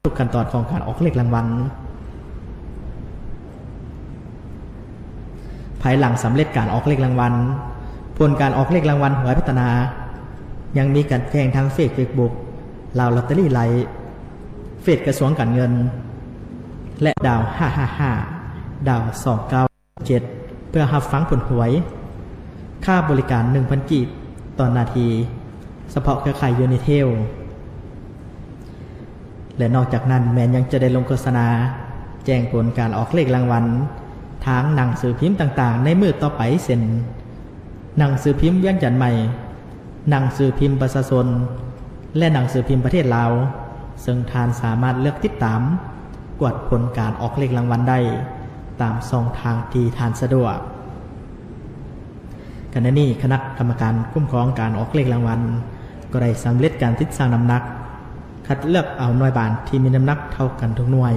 ທຸກຂັ້ນຕອນຂອງການອອກເລກລາງວັນ. ພາຍຫຼັງສຳເລັດການອອກເລກລາງວັນ, ຜົນການອອກເລກລາງວັນຫວຍພັດທະນາ ຍັງມີການແຈ້ງທາງເຟສ ເຟສບຸກ ລາວລອດເຕີຣີໄລ, ເຟສກະຊວງການເງິນ ແລະ ດາວຫ້າຫ້າຫ້າ ດາວສອງເກົ້າເຈັດ ເພື່ອຮັບຟັງຜົນຫວຍ. ຄ່າບໍລິການໜຶ່ງພັນກີບຕໍ່ນາທີ, ສະເພາະເຄືອຂ່າຍຢູນິເທວ. ແລະ ນອກຈາກນັ້ນແມ່ນຍັງຈະໄດ້ລົງໂຄສະນາແຈ້ງຜົນການອອກເລກລາງວັນທາງໜັງສືພິມຕ່າງໆໃນມື້ຕໍ່ໄປ ເຊັ່ນ ໜັງສືພິມວຽງຈັນໃໝ່, ໜັງສືພິມປະຊາຊົນ ແລະ ໜັງສືພິມປະເທດລາວ, ເຊິ່ງທ່ານສາມາດເລືອກຕິດຕາມກວດຜົນການອອກເລກລາງວັນໄດ້ຕາມຊ່ອງທາງທີ່ທ່ານສະດວກ. ຂະນະນີ້ຄະນະກຳມະການຄຸ້ມຄອງການອອກເລກລາງວັນກໍໄດ້ສຳເລັດການຕິດຊັ່ງນ້ຳໜັກ, ຄັດເລືອກເອົາໜ່ວຍບານທີ່ມີນ້ຳໜັກເທົ່າກັນທຸກໜ່ວຍ